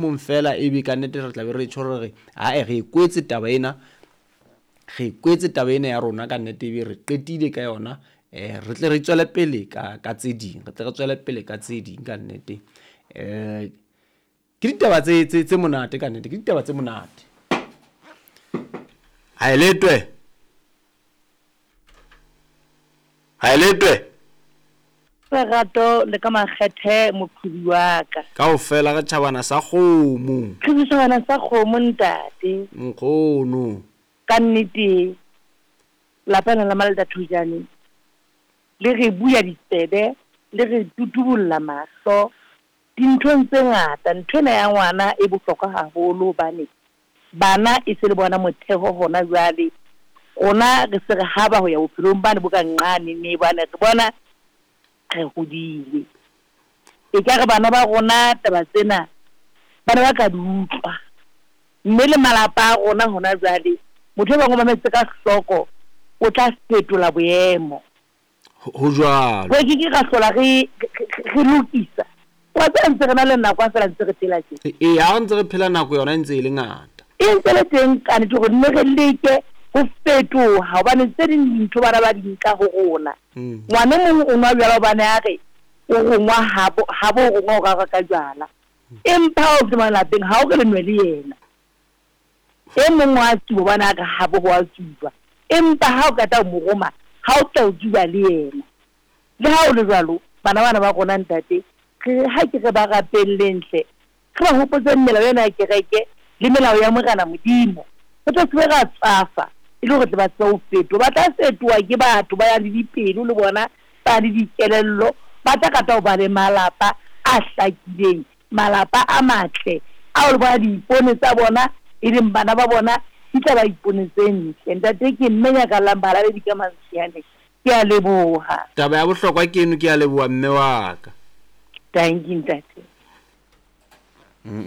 Mong fela ebe ka nnete re tla be re tjho re re ae re e kwetse taba ena, re e kwetse taba ena ya rona ka nnete ebe re qetile ka yona. Re tle re tswele pele ka ka tse ding, re tle re tswele pele ka tse ding ka nnete. Ke ditaba tse tse tse monate ka nnete, ke ditaba tse monate. Ha e letwe. Ha e letwe. Lerato le ka makgethe moqhobi wa ka. Kaofela re tjhabana sa kgomo. Re tjhabana sa kgomo ntate. Nkgono. Ka nnete lapa lena la Maleta Thojane le re buya ditsebe, le re tutubolla mahlo dinthong tse ngata. Ntho ena ya ngwana e bohlokwa haholo hobane Bana e se le bona motheho hona jwale. Rona re se re haba ho ya bophelong bane bo ka nqane mme bane re bona re hodile. Ekare bana ba rona taba tsena ba ne ba ka di utlwa. Mme le malapa a rona hona jwale, motho e bang o mametse ka hloko o tla fetola boemo. Ho jwalo. Re ke ke ra hlola re, re lokisa. Wa tseba ntse re na le nako ha feela ntse re phela tje. Ee, ha re ntse re phela nako yona e ntse e le ngata. E ntse le teng ka nnete hore nne re leke ho fetoha hobane tse ding dintho bana ba di nka ho rona. Ngwana e mong o nwa jwala hobane a re o rongwa habo, habo o rongwa hore a reka jwala. Empa ha o fihla lapeng ha o re le nwe le yena. E mong wa tsuba hobane a re habo ho a tsujwa, empa ha o qeta ho mo roma, ha o tla o tsuba le yena. Le ha ho le jwalo, bana bana ba rona, ntate, re re ha ke re ba rapelleng hle, re ba hopotseng melao ena ya kereke le melao ya Morena Modimo, re tle se be ra tswafa, e le hore tle ba tsebe ho fetoha. Ba tla fetoha ke batho ba yang le dipelo le bona, ba le dikelello, ba tla rata ho ba le malapa a hlakileng. Malapa a matle ao le bona diipone tsa bona e leng bana ba bona di tla ba ipone tse ntle. Ntate ke mme Nyakallang Bahalaledi ka Mantshiane. Ke a leboha. Taba ya bohlokwa ke eno ke a leboha mme wa ka. Dankie ntate.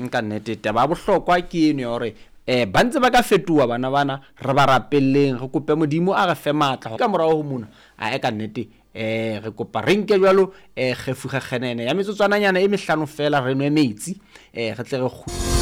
Ka nnete taba ya bohlokwa ke eno ya hore um ba ntse ba ka fetoha bana bana, re ba rapelleng, re kope Modimo a re fe matla ka morao ho mona. Ae ka nnete um re kopa re nke jwalo um kgefukgekgenene ya metsotswananyana e mehlano fela re nwe metsi um re tle re.